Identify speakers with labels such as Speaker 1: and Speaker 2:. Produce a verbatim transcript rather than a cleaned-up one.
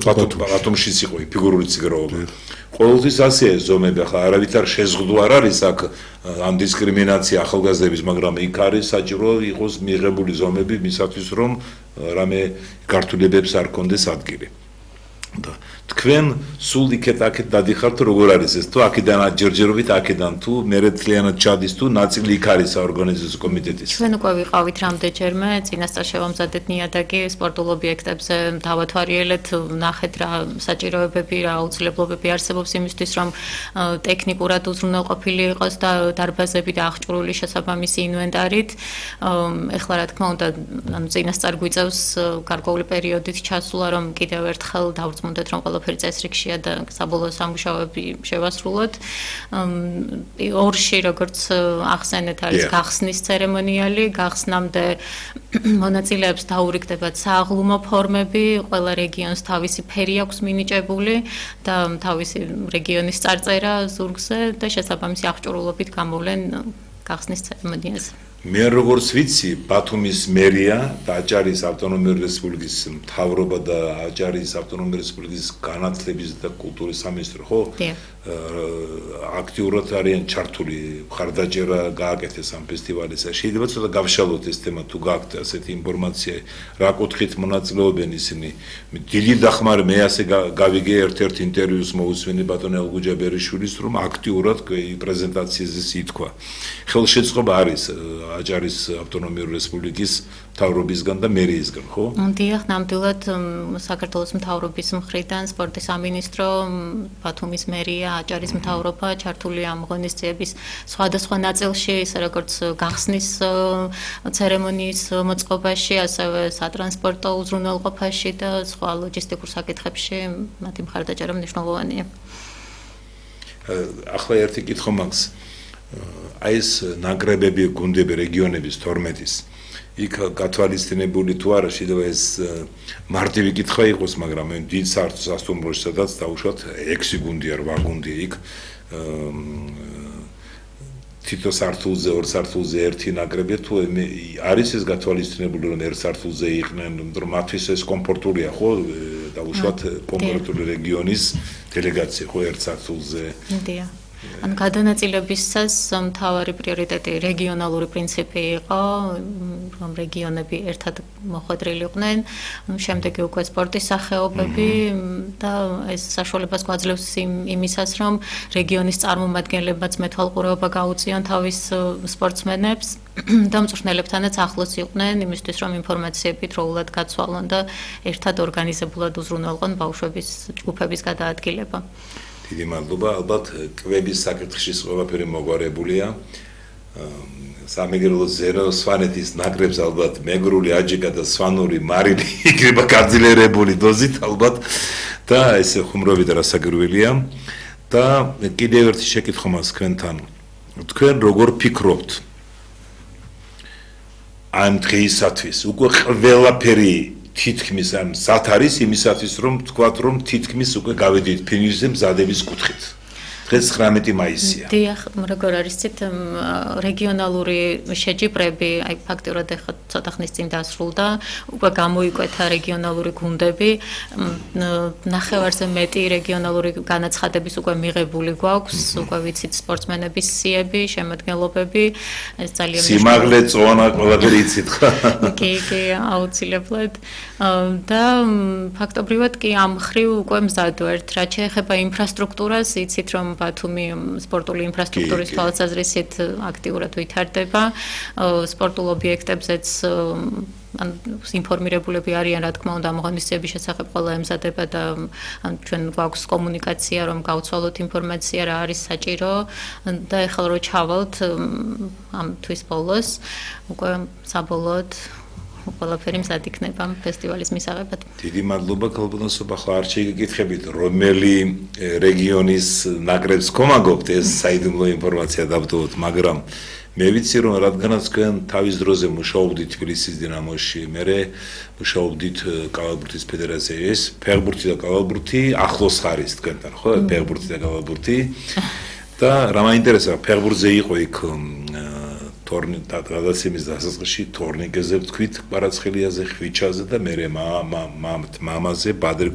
Speaker 1: ბათუმშიც იყო ფიგურული ციკლობა. ყოველთვის ასეა ზომები, ახლა არავითარ შეზღუდვა არ არის აქ ამ დისკრიმინაცია ახალგაზრდების, მაგრამ იქ არის საჭირო იყოს მიღებული ზომები მისათვის რომ რამე გართულებებს არ კონდეს ადგილი. და თქვენ სულ იქეთ-აქეთ დადიხართ როგორ არის ეს თუ აქედან აჯერჯერობით აქედან თუ მერეთლიანად ჩადის თუ ნაწილი იქ არის საორგანიზაციო კომიტეტის
Speaker 2: ჩვენ უკვე ვიყავით რამდენჯერმე წინასწარ შევამზადეთ ნიადაგი სპორტულ ობიექტებზე დავათვალიერეთ ნახეთ რა საჭიროებები რა აუცილებლობები არსებობს იმისთვის რომ ტექნიკურად უზრუნველყოფილი იყოს და დარბაზები და აღჭურვილი შესაბამისი ინვენტარით ეხლა რა თქმა უნდა ანუ წინასწარ გვიწევს გარკვეული პერიოდით ჩასულა რომ კიდევ ერთხელ დავწმუნდეთ რომ ყველაფერი წესრიგშია და საბოლოო სამუშაოები შევასრულოთ. ორში როგორც ახსენეთ არის გახსნის ცერემონიალი, გახსნამდე მონაწილეებს დაურიგდებათ სააღლუმო ფორმები, ყველა რეგიონს თავისი ფერი აქვს მინიჭებული და თავისი რეგიონის წარწერა ზურგზე და შესაბამისი აღჭურვილობით გამოვლენ გახსნის ცერემონიაზე.
Speaker 1: მე როგორც ვიცი, ბათუმის მერია და აჭარის ავტონომიური რესპუბლიკის მთავრობა და აჭარის ავტონომიური რესპუბლიკის განათლების და კულტურის სამინისტრო, ხო? აქტიურად არიან ჩართული, მხარდაჭერა გააკეთეს ამ ფესტივალისა. შეიძლება ცოტა გავშალოთ ეს თემა თუ გაქვთ ასეთი ინფორმაცია, რა კუთხით მონაწილეობენ ისინი. დიდი დახმარე მე ასე გავიგე ერთ-ერთ ინტერვიუს მოусვენი ბატონ ელგუჯა ბერიშვილის რომ აქტიურად პრეზენტაციაზე ითქვა. ხელშეწყობა არის აჭარის ავტონომიური რესპუბლიკის მთავრობისგან და მერიისგან, ხო?
Speaker 2: დიახ, ნამდვილად საქართველოს მთავრობის მხრიდან სპორტის სამინისტრო, ბათუმის მერია, აჭარის მთავრობა ჩართულია ამ ღონისძიების სხვადასხვა ნაწილში, ისე როგორც გახსნის ცერემონიის მოწყობაში, ასევე სატრანსპორტო უზრუნველყოფაში და სხვა ლოჯისტიკურ საკითხებში მათი მხარდაჭერა მნიშვნელოვანია.
Speaker 1: ახლა ერთი კითხვა მაქვს. აი ეს ნაკრებები, გუნდები რეგიონების თორმეტის იქ გათვალისწინებული თუ არა შეიძლება ეს მარტივი კითხვა იყოს, მაგრამ მე დიდ სასტუმროში სადაც დაუშვათ ექვსი გუნდი არ რვა გუნდი იქ თითო სართულზე, ორ სართულზე ერთი ნაკრები თუ არის ეს გათვალისწინებული რომ ერთ სართულზე იყვნენ, რომ მათთვის ეს კომფორტულია, ხო? დაუშვათ კონკრეტული რეგიონის დელეგაცია ხო ერთ სართულზე.
Speaker 2: დიახ. ან გადანაწილებისას მთავარი პრიორიტეტი რეგიონალური პრინციპი იყო, რომ რეგიონები ერთად მოხვედრილიყვნენ, შემდეგი უკვე სპორტის სახეობები და ეს საშუალებას გვაძლევს იმისას, რომ რეგიონის წარმომადგენლებაც მეთვალყურეობა გაუწიონ თავის სპორტსმენებს და მწვრთნელებთანაც ახლოს იყვნენ, იმისთვის რომ ინფორმაციები დროულად გაცვალონ და ერთად ორგანიზებულად უზრუნველყონ ბავშვების ჯგუფების გადაადგილება.
Speaker 1: დიდი მადლობა, ალბათ კვების საკითხში ყველაფერი მოგვარებულია. სამეგრელო ზერო სვანეთის ნაკრებს ალბათ მეგრული აჯიკა და სვანური მარილი იქნება გაძლიერებული დოზით ალბათ და ესე ხუმრობით რასაგვირველია და კიდევ ერთი შეკითხვა მაქვს თქვენთან. თქვენ როგორ ფიქრობთ ამ დღეისათვის უკვე ყველაფერი თითქმის ამ სათ არის იმისათვის რომ თქვათ რომ თითქმის უკვე გავედით ფინიშზე მზადების კუთხით. დღეს ცხრამეტი მაისია.
Speaker 2: დიახ, როგორ არის ცით რეგიონალური შეჯიბრები, აი ფაქტიურად ახლა ცოტა ხნის წინ დასრულდა, უკვე გამოიკვეთა რეგიონალური გუნდები, ნახევარზე მეტი რეგიონალური განაცხადების უკვე მიღებული გვაქვს, უკვე ვიცით სპორტსმენების სიები, შემადგენლობები, ეს ძალიან
Speaker 1: სიმაღლე, წონა, ყველაფერი იცით ხო?
Speaker 2: კი, კი, აუცილებლად. და ფაქტობრივად კი ამ მხრივ უკვე მზად ვართ, რაც შეეხება ინფრასტრუქტურას, იცით რომ ბათუმი სპორტული ინფრასტრუქტურის თვალსაზრისით აქტიურად ვითარდება, სპორტულ ობიექტებზეც ან ინფორმირებულები არიან, რა თქმა უნდა, ამ ღონისძიების შესახებ ყველა ემზადება და ჩვენ გვაქვს კომუნიკაცია, რომ გავცვალოთ ინფორმაცია, რა არის საჭირო და ეხლა რო ჩავალთ ამ თვის ბოლოს, უკვე საბოლოოდ ყველაფერი მზად იქნება ფესტივალის მისაღებად.
Speaker 1: დიდი მადლობა ქალბატონსობა, ხო არ შეგეკითხებით, რომელი რეგიონის ნაკრებს გქონაგობთ, ეს საიდუმლო ინფორმაცია დავდოთ, მაგრამ მე ვიცი რომ რადგანაც თქვენ თავის დროზე მუშაობდით თბილისის დინამოში, მერე მუშაობდით კალათბურთის ფედერაციის, ფეხბურთი და კალათბურთი ახლოს არის თქვენთან, ხო? ფეხბურთი და კალათბურთი და რა მაინტერესებს, ფეხბურთზე იყო იქ თორნი და გადაცემის დასაწყისში თორნიკეზე ვთქვით კვარაცხელიაზე, ხვიჩაზე და მერე მამაზე, ბადრ